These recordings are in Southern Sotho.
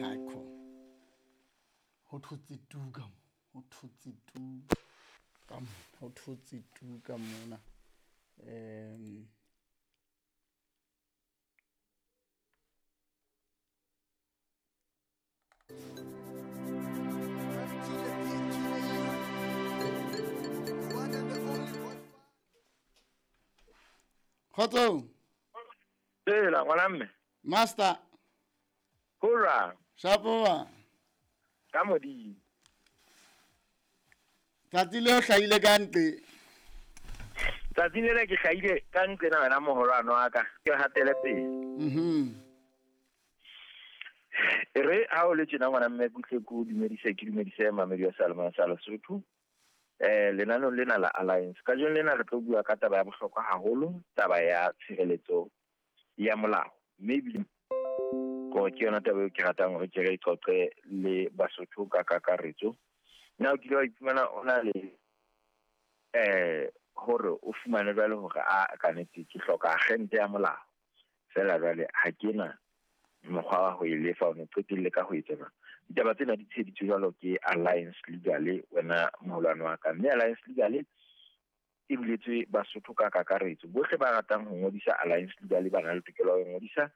Haikhona. Ho thotse tu ka mo, ho thotse tu ka mona, ho thotse tu ka mona. Kgotsong. Tsela ngwana mme. Master. Hurra. Shapoa. Ka modimo. Tsatsi leo hlahile ka nqe. Tsatsi lena ke hlahile ka nqe na wena moholwane wa ka. Ke hatele pele. E re ha o le tjena ngwana mme kutle ko dumedise ke dumedise mamedi wa Salman sa Lesotho. Lenaneo lena la Alliance. Kajeno lena re tlo bua ka taba ya bohlokwa haholo, taba ya tshireletso ya molao. Mme ebile ko ke yona taba eo ke ratang hore ke re qoqe le Basotho ka kakaretso. Na o kile wa iphumana o na le hore o fumane jwale hore a ka nnete ke hloka agente ya molao. Feela jwale ha ke na mokgwa wa ho e lefa, o ne qetelle ka ho etsa jwang. Ditaba tsena di tsheheditswe jwalo ke Alliance Legal, wena moholwane wa ka. Mme Alliance Legal e buletswe Basotho ka kakaretso. Bohle ba ratang ho ngodisa Alliance Legal ba na le tokelo ya ho ngodisa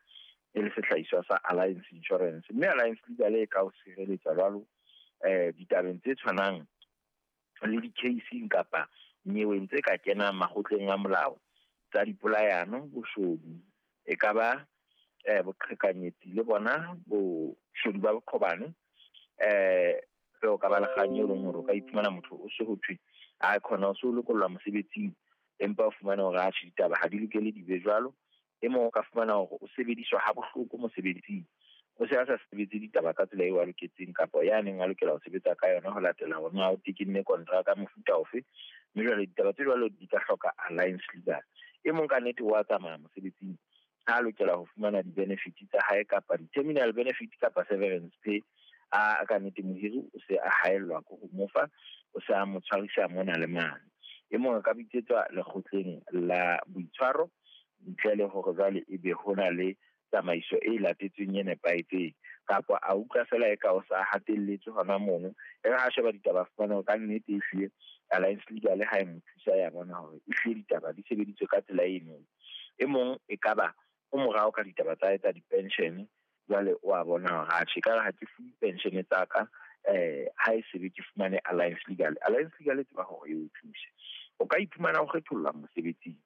e le sehlahiswa sa Alliance Insurance. Mme Alliance Legal e ka o sireletsa jwalo ditabeng tse tshwanang le di-case-ing kapa nyeweng tse ka kenang makgotleng a molao tsa dipolayano, boshodu, e ka ba boqhekanyetsi le bona boshodu ba boqhobane. O ka ba le kgang e leng hore o ka iphumana motho o se ho thwe a khona o se o lokollwa mosebetsing, empa o fumane hore atjhe ditaba ha di lokele di be jwalo. E mong o ka fumana hore o sebediswa ha bohloko mosebetsing, o se a sa sebetse ditaba ka tsela eo a loketseng kapa ya neng a lokela ho sebetsa ka yona ho latela hore na o tekenne kontraka mofuta ofe. Mme jwale ditaba tse jwalo di ka hloka Alliance Legal. E mong ka nnete wa tsamaya mosebetsing ha lokela ho fumana di-benefit tsa hae kapa di-terminal benefit kapa severance pay, a ka nnete mohiri o se a haellwa ke ho mo fa, o se a mo tshwarisa mona le mane. E mong a ka bitsetswa lekgotleng la boitshwaro ntle le hore jwale ebe ho na le tsamaiso e latetsweng e nepahetseng, kapa a utlwa fela e ka o sa hatelletswe hona mono. E re ha sheba ditaba fumana ka nnete ehlile Alliance Legal ha e mo thusa ya bona hore ehlile ditaba di sebeditswe ka tsela eno. E mong e ka ba o morao ka ditaba tsa hae tsa di-pension, jwale o a bona hore atjhe ekare ha ke fuwe pension tsa ka ha e sebe ke fumane Alliance Legal. Alliance Legal e tseba hore e o thuse. O ka iphumana o kgethollwa mosebetsing,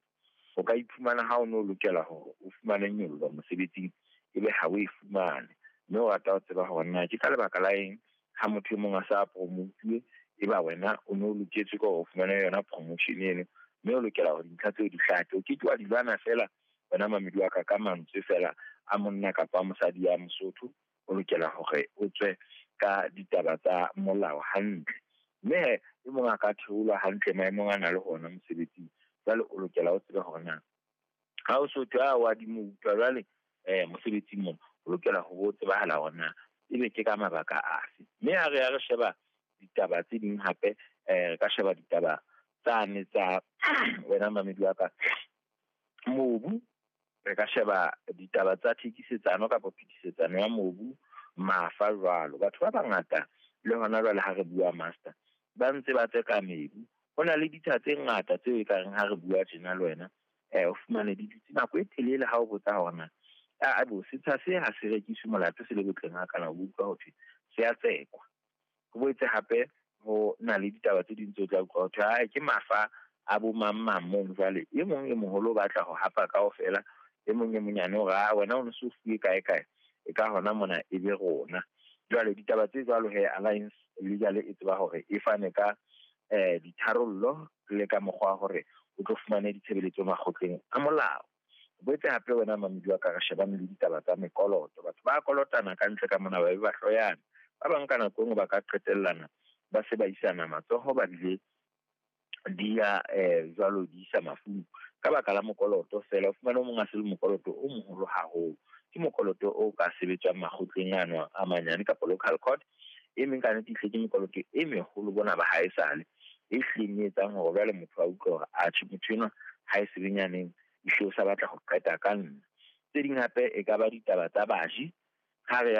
o ka iphumana ha o no lokela hore o fumane nyollo mosebetsing ebe ha o e fumane, mme o rata ho tseba hore na ke ka lebaka la eng ha motho e mong a sa promotuwe eba wena o no loketswe ke hore o fumane yona promotion eno, mme o lokela hore dintlha tseo di hlake. O ke ke wa di lwana fela wena mamedi wa ka ka mantswe fela a monna kapa a mosadi ya Mosotho, o lokela hore o tswe ka ditaba tsa molao hantle. Mme e mong a ka theolwa hantle maemong a na le hona mosebetsing, jwale o lokela o tsebe hore na ha o so thwe a wa di mo utlwa jwale mosebetsing mona, o lokela ho tsebahala hore na ebe ke ka mabaka afe. Mme ha re ya re sheba ditaba tse ding hape, re ka sheba ditaba tsane tsa wena mamedi wa ka mobu, re ka sheba ditaba tsa thekisetsano kapa phetisetsano ya mobu, mafa jwalo. Batho ba bangata le hona jwale ha re bua master ba ntse ba tseka mebu. Ho na le ditsha tse ngata tseo ekareng ha re bua tjena le wena o fumane di dutse nako e telele ha o botsa hore na a bo setsha se ha se rekiswe molato se le botleng ha kana o utlwa ho thwe se a tsekwa. Ho boetse hape ho na le ditaba tse ding tse o tla utlwa ho thwe ae ke mafa a bo mang mang mono. Jwale e mong e moholo o batla ho hapa kaofela, e mong e monyane hore a wena o no so fuwe kae kae, e ka hona mona e be rona. Jwale ditaba tse jwalo he Alliance Legal e tseba hore e fane ka ditharollo le ka mokgwa hore o tlo fumane ditshebeletso makgotleng a molao. Boetse hape wena mamedi wa ka re shebane le ditaba tsa mekoloto. Batho ba kolotana ka ntle ka mona ba be ba hloyana. Ba bang ka nako e nngwe ba ka qetellana ba se ba isana matsoho, ba bile di ya jwalo di isa mafung ka baka la mokoloto fela. O fumane o mong a se le mokoloto o moholo haholo, ke mokoloto o ka sebetswang makgotleng ano a manyane kapa local court. E meng ka nnete ehlile ke mekoloto e meholo bona ba haesale e hlileng e etsang hore jwale motho a utlwe hore atjhe motho enwa ha e sebenyaneng ehlile o sa batla ho qeta ka nna. Tse ding hape e ka ba ditaba tsa baji ha re